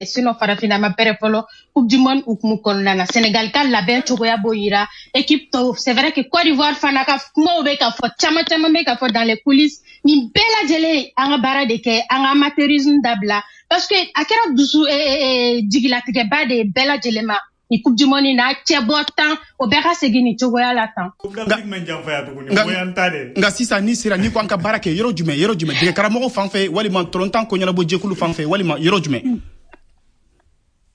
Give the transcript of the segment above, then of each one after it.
Sinon farafinna ma pɛrɛ fɔlɔ Coupe du monde hukumu kɔnɔna na. Sénégal ka labɛn cogoya b'o yira, équipe tɔw, c'est vrai que Côte d'Ivoire fana ka kumaw bɛ ka fɔ, caman caman bɛ ka fɔ dans les coulisses. Nin bɛɛ lajɛlen, an ka baara de kɛ, an ka amateurisme dabila, parce que a kɛra dusu jigilatigɛba de ye bɛɛ lajɛlen ma ni Coupe du monde n'a cɛbɔ tan, o bɛɛ ka segin nin cogoya la tan. Nka sisan ni sera n'i ko an ka baara kɛ yɔrɔ jumɛn, yɔrɔ jumɛn, dege karamɔgɔ fan fɛ walima tɔlɔntan ko ɲɛnabɔ jɛkulu fan fɛ walima yɔrɔ jumɛn?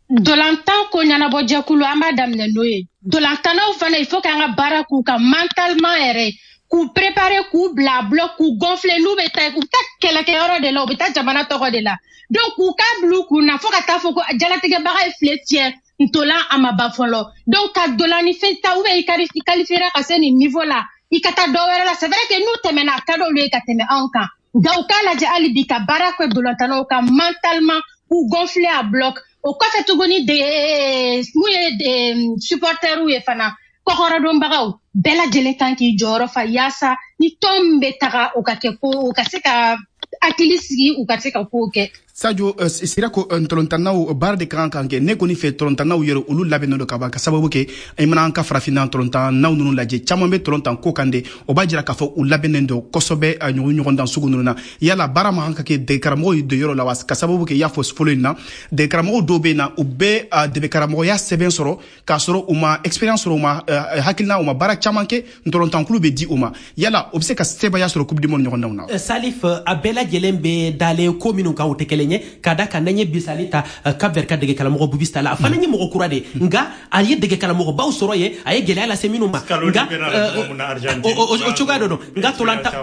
Dolantan ko ɲɛnabɔ jɛkulu, an b'a daminɛ n'o ye. Dolantannaw fana, il faut k'an ka baara k'u kan mentalement yɛrɛ, k'u préparer, k'u bila bloc, k'u gonfler. N'u bɛ taa, u bɛ taa kɛlɛkɛyɔrɔ de la, u bɛ taa jamana tɔgɔ de la. Donc k'u k'a bila u kun na fo ka taa fɔ ko jalatigɛbaga ye file tiɲɛ, ntolan a ma ban fɔlɔ. Donc ka dolan ni fɛn ta, ou bien i qualifiera ka se nin niveau la, i ka taa dɔ wɛrɛ la. C'est vrai que n'u tɛmɛna, a ka d'olu ye ka tɛmɛ anw kan, nka u k'a lajɛ hali bi ka baara kɛ dolantannaw kan mentalement, k'u gonfler à bloc. O kɔfɛ tuguni, de mun ye supporteriw ye fana, kɔkɔrɔdonbagaw bɛɛ lajɛlen kan k'i jɔyɔrɔ fa yaasa ni tɔn min bɛ taga, o ka kɛ ko o ka se ka hakili sigi, u ka se ka kow kɛ. Sadio sira ko ntolontannaw baara de ka kan kɛ. Ne kɔni fɛ, tolontannaw yɛrɛ, olu labɛnnen don ka ban, ka sababu kɛ i mana an ka farafinna tolontannaw ninnu lajɛ, caman bɛ tolontan ko kan de. O b'a jira k'a fɔ u labɛnnen don kosɛbɛ ɲɔgɔndan sugu ninnu na. Yala baara ma kan ka kɛ dege karamɔgɔw ye yɔrɔ la wa? Ka sababu kɛ i y'a fɔ fɔlɔ in na, dege karamɔgɔw dɔw bɛ yen na, u bɛ dege karamɔgɔya sɛbɛn sɔrɔ k'a sɔrɔ u ma expérience sɔrɔ, u ma hakilina, u ma baara caman kɛ, ntolontankulu bɛ di u ma. Yala o bɛ se ka sebaaya sɔrɔ Coupe du monde ɲɔgɔndanw na? Salif, a bɛɛ lajɛlen bɛ dalen ko minnu kan, o tɛ kelen ye. Ka da kan, n'an ye misali ta Cap Vert ka dege karamɔgɔ Bubista la, a fana ye mɔgɔ kura de, nka a ye dege karamɔgɔbaw sɔrɔ yen, a ye gɛlɛya lase minnu ma. Nka o cogoya dɔ don. Nka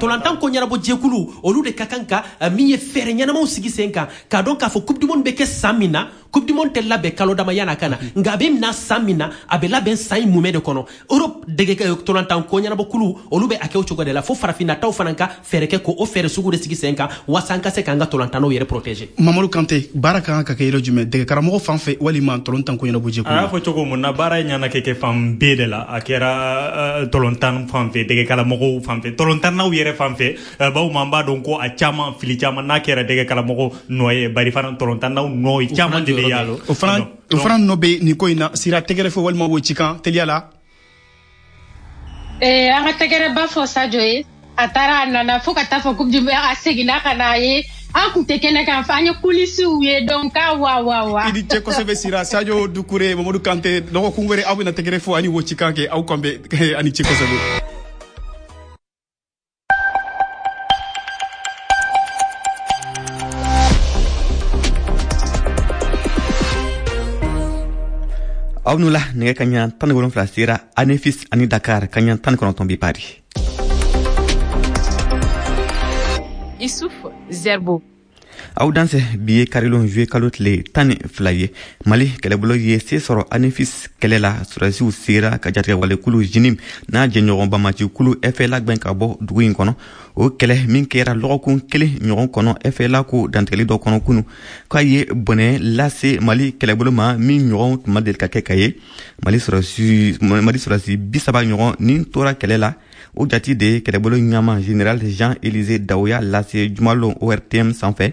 tolantan ko ɲɛnabɔ jɛkulu, olu de ka kan ka min ye fɛɛrɛ ɲɛnamaw sigi sen kan, k'a dɔn k'a fɔ Coupe du monde bɛ kɛ san min na. Coupe du monde tɛ labɛn kalo dama yan'a ka na, nka a bɛ na san min na, a bɛ labɛn san in mumɛ de kɔnɔ. Europe dege tolantan ko ɲɛnabɔ kulu, olu bɛ a kɛ o cogo de la, fo farafinna taw fana ka fɛɛrɛ kɛ k'o fɛɛrɛ sugu de sigi sen kan waasa an ka se k'an ka tolantannaw yɛrɛ protéger. Mamadu Kante, baara ka kan ka kɛ yɔrɔ jumɛn, dege karamɔgɔ fan fɛ walima tolontan ko ɲɛnabɔ jɛkulu? A y'a fɔ cogo mun na, baara in ɲɛna kɛ fan bɛɛ de la. A kɛra tolontan fan fɛ, dege karamɔgɔw fan fɛ, tolontannaw yɛrɛ fan fɛ, bawo an b'a dɔn ko a caman fili caman n'a kɛra dege karamɔgɔ nɔ ye, bari fana tolontannaw nɔ ye caman de bɛ y'a. O fana nɔ bɛ nin ko in na. Sira, tɛgɛrɛ fɔ walima wo cikan teliya la? An ka tɛgɛrɛba fɔ Sadio ye. A taara, a nana, fo ka taa fɔ Coupe du monde a seginna ka na ye, an kun tɛ kɛnɛ kan, an ye coulisses ye. Donc k'a wa wa wa. I ni ce kosɛbɛ Sira. Sadio Dukure, Mamadu Kante, dɔgɔkun wɛrɛ aw bɛna tɛgɛrɛ fɔ ani wo cikan kɛ. Aw kan bɛ, ani ce kosɛbɛ. Aw nu la, nɛgɛ ka ɲa 17 sera Anefis ani Dakar, ka ɲa 19 bi Paris. Isuf Zerbo. Aw dansɛ, bi ye karilon juye kalo tile 12 ye. Mali kɛlɛbolo ye se sɔrɔ Anefis kɛlɛ la. Sɔrɔdasiw sera ka jatigɛwalekulu JNIM n'a jɛɲɔgɔn bamacikulu FLA gwɛn ka bɔ dugu in kɔnɔ. O kɛlɛ min kɛra lɔgɔkun kelen ɲɔgɔn kɔnɔ, FLA ko dantigɛli dɔ kɔnɔ kunu k'a ye bɔnɛ lase Mali kɛlɛbolo ma min ɲɔgɔn tun ma deli ka kɛ ka ye. Mali sɔrɔdasi 30 ɲɔgɔn nin tora kɛlɛ la. O jati de ye kɛlɛbolo ɲama général Jean Élysée Daouya lase jumalon ORTM sanfɛ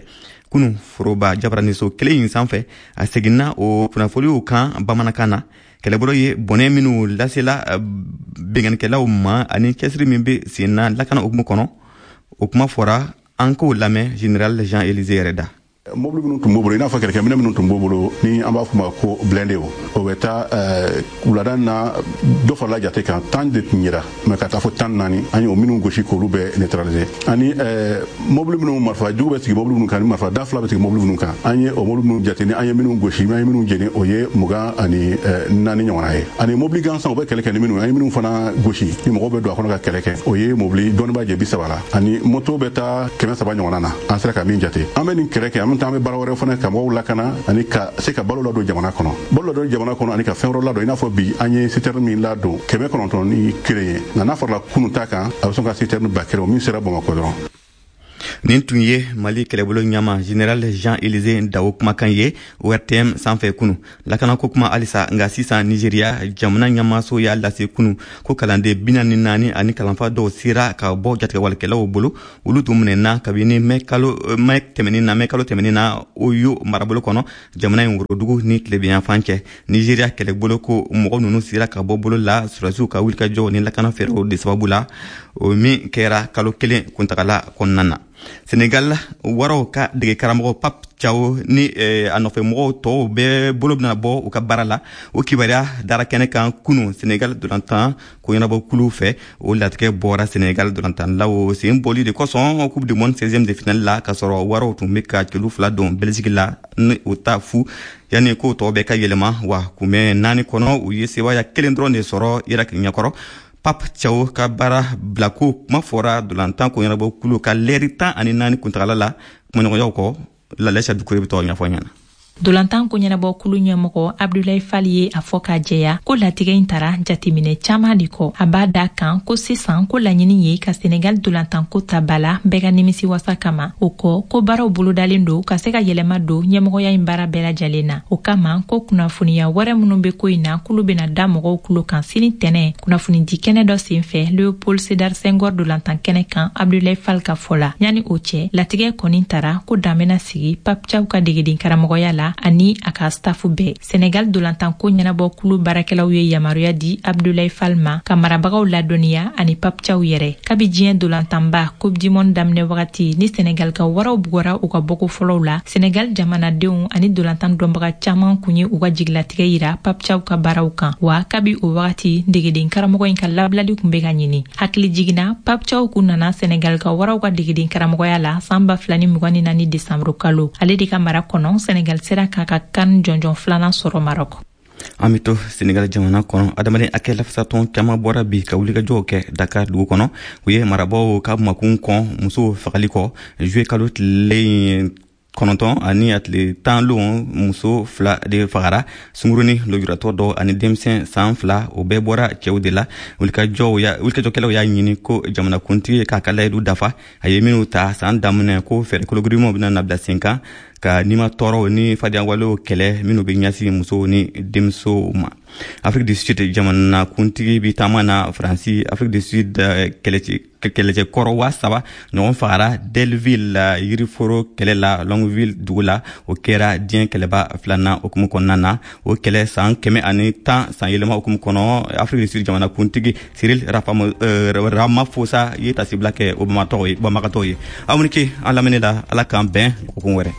kunu, foroba jabaraniso kelen in sanfɛ. A seginna o kunnafoniw kan bamanankan na, kɛlɛbolo ye bɔnɛ minnu lasela binkannikɛlaw ma ani cɛsiri min bɛ sen na lakana hukumu kɔnɔ. O kuma fɔra, an k'o lamɛn général Jean Élysée yɛrɛ da. Mobili minnu tun b'u bolo, i n'a fɔ kɛlɛkɛminɛ minnu tun b'u bolo, ni an b'a fɔ ma ko blindé, o bɛ taa wulada na, dɔ farala jate kan, 10 de tun yera, mɛ ka taa fɔ 14, an ye o minnu gosi k'olu bɛɛ neutraliser. Ani mobili minnu marifa jugu bɛ sigi mobili minnu kan, ni marifa da fila bɛ sigi mobili minnu kan, an ye o mobili minnu jate, ni an ye minnu gosi, an ye minnu jeni, o ye 24 ɲɔgɔnna ye. Ani mobili gansan u bɛ kɛlɛ kɛ ni minnu, an ye minnu fana gosi, ni mɔgɔw bɛ don a kɔnɔ ka kɛlɛ kɛ, o ye mobili dɔɔni b'a jɛ 30 la, ani moto bɛ taa 300 ɲɔgɔnna na, an sera ka min jate. An bɛ nin kɛlɛ kɛ, an bɛ taa, an bɛ baara wɛrɛ fana ka mɔgɔw lakana ani ka se ka balo ladon jamana kɔnɔ, balo ladon jamana kɔnɔ, ani ka fɛn wɛrɛ ladon. I n'a fɔ bi an ye citerne min ladon, 901 ye, nka n'a farala kunun ta kan, a bɛ sɔn ka citerne 1000, o min sera Bamakɔ dɔrɔn. Nin tun ye Mali kɛlɛbolo ɲama Général Jean-Élisée Dao kumakan ye ORTM sanfɛ kunu. Lakanako kuma halisa, nka sisan Nigeria jamana ɲɛmaaso y'a lase kunu ko kalanden 44 ani kalanfa dɔw sera ka bɔ jatigɛwalekɛlaw bolo. Olu tun minɛna kabini mɛ kalo tɛmɛnin na Oyo marabolo kɔnɔ, jamana in worodugu ni tilebinyanfan cɛ. Nigeria kɛlɛbolo ko mɔgɔ ninnu sera ka bɔ bolo la sɔrɔdasiw ka wulikajɔw ni lakana fɛɛrɛw de sababu la, o min kɛra kalo kelen kuntagala kɔnɔna na. Senegal waraw ka dege karamɔgɔ Pape Thiaw ni a nɔfɛmɔgɔw tɔw bɛɛ bolo bɛna bɔ u ka baara la. O kibaruya dara kɛnɛ kan kunu Senegal dolantan koɲɛnabɔkulu fɛ. O latigɛ bɔra Senegal dolantanlaw sen bɔli de kosɔn Coupe du monde 16e de finale la, k'a sɔrɔ waraw tun bɛ ka celu 2 don Belgique la ni o ta fu yanni ko tɔw bɛɛ ka yɛlɛma. Wa kunbɛn 4 kɔnɔ, u ye sebaaya 1 dɔrɔn de sɔrɔ Irak ɲɛkɔrɔ. Pape Thiaw ka baara bilako kuma fɔra dolantan koɲɛnabɔkulu ka lɛri 14 kuntagala la kumaɲɔgɔnyaw kɔ. Lalɛsa Dukure bɛ tɔgɔ ɲɛfɔ ɲɛna. Dolantan ko ɲɛnabɔ kulu ɲɛmɔgɔ Abdoulaye Fall ye a fɔ k'a jɛya ko latigɛ in tara jateminɛ caman de kɔ. A b'a da kan ko sisan ko laɲini ye ka Senegal dolantanko ta ba la bɛɛ ka nimisi wasa kama. O kɔ ko baaraw bolodalen don ka se ka yɛlɛma don ɲɛmɔgɔya in baara bɛɛ lajɛlen na. O kama ko kunnafoniya wɛrɛ minnu bɛ ko in na kulu bɛna da mɔgɔw kulo kan sini tɛnɛ kunnafonidi kɛnɛ dɔ senfɛ Léopold Sédar Senghor dolantan kɛnɛ kan Abdoulaye Fall ka fɔ la. Yanni o cɛ, latigɛ kɔni tara ko dan bɛna sigi Pape Thiaw ka degeden karamɔgɔya la ani a ka stafu bɛɛ. Senegal dolantanko ɲɛnabɔ kulu baarakɛlaw ye yamaruya di Abdoulaye Fall ma ka marabagaw ladɔnniya ani Pape Thiaw yɛrɛ. Kabi diɲɛ dolantanba Coupe du monde daminɛ wagati ni Senegal ka waraw bugɔra u ka bɔko fɔlɔw la, Senegal jamanadenw ani dolantan dɔnbaga caman kun ye u ka jigilatigɛ yira Pape Thiaw ka baaraw kan. Wa kabi o wagati degeden karamɔgɔ in ka labilali kun bɛ ka ɲini. Hakili jiginna, Pape Thiaw kun nana Senegal ka waraw ka degeden karamɔgɔya la san 2024 desanburu kalo. Ale de ka mara kɔnɔ Senegal sera k'a ka kan jɔnjɔn filanan sɔrɔ Maroc. An bɛ to Senegal jamana kɔnɔ. Adamaden hakɛ lafasatɔn caman bɔra bi ka wulikajɔw kɛ Dakar dugu kɔnɔ. U ye marabaaw ka makun kɔn musow fagali kɔ juillet kalo tile 9 ani a tile 10 lon. Muso 2 de fagara, sungurunin lujuratɔ dɔ ani denmisɛn san 2, o bɛɛ bɔra cɛw de la. Wulikajɔkɛlaw y'a ɲini ko jamanakuntigi k'a ka layidu dafa a ye minnu ta san daminɛ, ko fɛɛrɛ kologirimanw bɛna na bila sen kan ka nima tɔɔrɔw ni fadiyawalew kɛlɛ minnu bɛ ɲɛsin musow ni denmusow ma. Afrique du Sud jamanakuntigi bi taama na Faransi. Afrique du Sud kɛlɛcɛkɔrɔ 3000 ɲɔgɔn fagara Delville yiriforo kɛlɛ la Longueville dugu la. O kɛra diɲɛ kɛlɛba filanan hukumu kɔnɔna na. O kɛlɛ san 110 san yɛlɛma hukumu kɔnɔ, Afrique du Sud jamanakuntigi Cyril Ramaphosa ye tasibila kɛ o banbagatɔw ye. Aw ni ce an lamɛnni la. Ala k'an bɛn dɔgɔkun wɛrɛ.